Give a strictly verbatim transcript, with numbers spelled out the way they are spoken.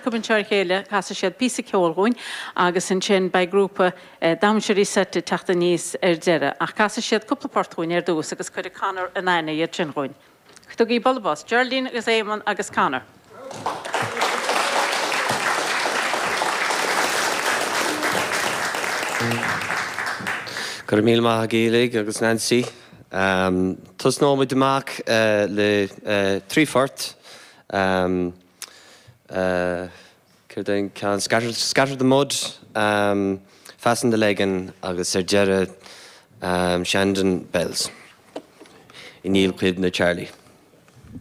anseo ar chéile casfaidh siad píosa ceoil dhúinn agus ansin beidh grúpa damhsóirí seite teacht aníos ar deireadh ach casfaidh siad cúpla port dhúinn ar dtús agus cuirfidh Conor in aithne iad sin dhúinn. Tugaigí bualadh bos, Geraldine agus Éamonn agus Conor. Go raibh míle maith agaibh agus Nancy. Um, Tosnóimid amach uh, le uh, trí phort. Um, uh, ceann scatter, scatter the mud, um, Fasten the Lagan agus ar deireadh um, Shandon Bells. I ndílchuimhne Charlie.